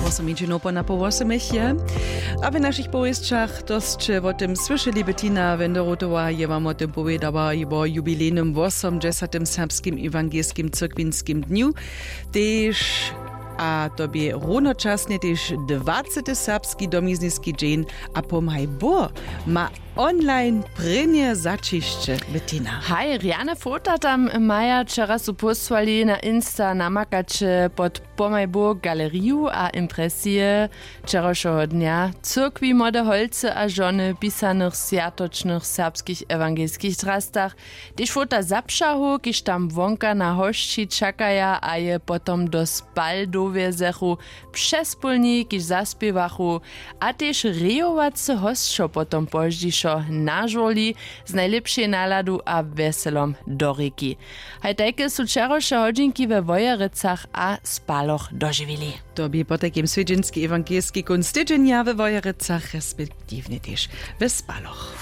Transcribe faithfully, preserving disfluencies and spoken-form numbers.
Wosomjedźinow po napoł wosomich je. A w našich powěsćach to sće wo tym słyšeli. Bettina Wenderotowa je wam wo tym powědała, wo jubilejnym wosomdźesatym serbskim ewangelskim cyrkwinskim dnju, tež a to bě runočasnje tež dwacety serbski domizniski dźeń. A pomhaj bóh ma online prěnje zaćišće. Bettina. Haj, rjane fota tam maja, wčera su pósłali na insta, namakaće pod pomhaj bóh galeriju a impresije wčerašeho dnja, cyrkwi, młode holcy a žony w pisanych swjatočnych serbskich ewangelskich drastach, tež fota zapšahow, kiž tam wonka na hosći čakaja a je potom do spal dowjezechu, přespólni, kiž zaspěwachu, a tež rejowacy hosćo potom pozdźišo na žurli z najlěpšej naladu a wjeselom do rěki. Haj tajke su wčeraše hodźinki we Wojerecach a Spaloch dožiwili. To bě potajkim swjedźenski ewangelski kónc tydźenja we Wojerecach respektiwnje tež we Spaloch.